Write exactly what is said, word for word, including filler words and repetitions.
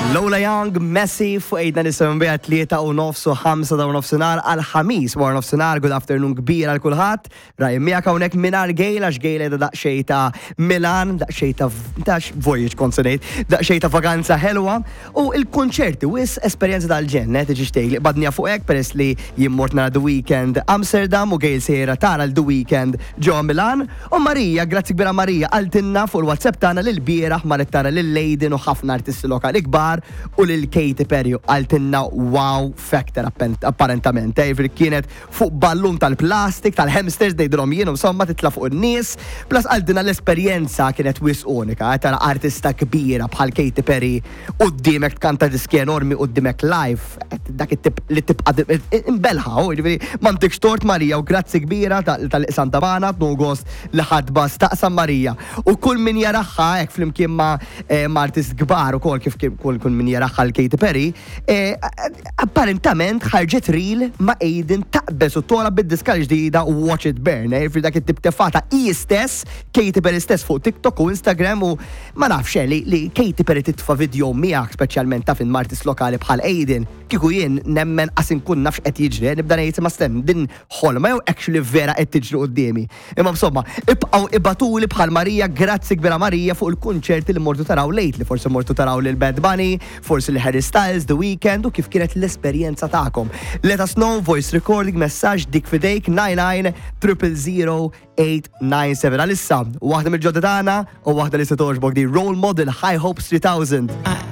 Lola Young, Messi, fuq Eight ninety-seven bija tlieta u nofs u ħamsa ta' nofsinhar għal Ħamis wara nofsinhar, good afternoon kbir għal kulħadd. Raj miegħek hawnhekk mingħajr Gail għax Gail qiegħda daqsxejn ta' Milan, daqsxejn ta' ta' voyage kont se ngħid, daqsxejn ta' vaganza ħelwa u il-konċerti wis esperjenza tal-ġenn, eh, tiġi xtejk li badnija fuq hekk peress li jien mort nara The Weeknd Amsterdam u Gail sejra tara l-The Weeknd ġo Milan u Marija, grazzi kbira Marija, qaltilna fuq il-WhatsApp tagħna lil bieraħ marret tara lil Aiden u ħafna artisti lokali kbar u lil Katy Perry u qaltilna wow factor apparentament. Eh, jiġifieri kienet fuq ballun tal-plastik, tal-hamsters, ngħidilhom jien, insomma titla' fuq in-nies. Plus qaltilna l-esperjenza kienet wisq unika, eh, tara artista kbira bħal Katy Perry quddiemek tkanta diski enormi quddiemek live, eh, dak it-tip li tibqa' imbelħa, u jiġifieri m'għandekx tort Marija u grazzi kbira tal-iqsam tabana, gost li ħadba staqsam Marija. U kull min jaraha hekk flimkien ma' ma' artist kbar ukoll kif kull kull min jaraha l-Katy Perry, eh, apparentament ħarġet reel ma' Aiden taqbeż u tola bid-diska l-ġdida Watch It Burn, eh, fi dak it-tip tefata i stess, Katy Perry stess fuq TikTok u Instagram u ma nafx eh, li, li Katy Perry titfa video miegħek speċjalment ta' fin artist lokali bħal Aiden, kieku jien nemmen qas inkun nafx qed jiġri, nibda ngħid ma stenn din ħolma jew actually vera qed tiġri quddiemi. Imma insomma, ibqgħu ibagħtuli bħal Marija, grazzi kbira Marija fuq il-kunċerti li mortu taraw lately, forsi mortu taraw lil Bad Bunny, forsi li Harry Styles, The Weeknd u kif kienet l-esperjenza tagħkom. Let us know, voice recording, messaġġ dik fidejk nine nine zero zero eight nine seven. Għalissa, waħda mill-ġodda tagħna u waħda li se togħġbok di Role Model, High Hopes three thousand.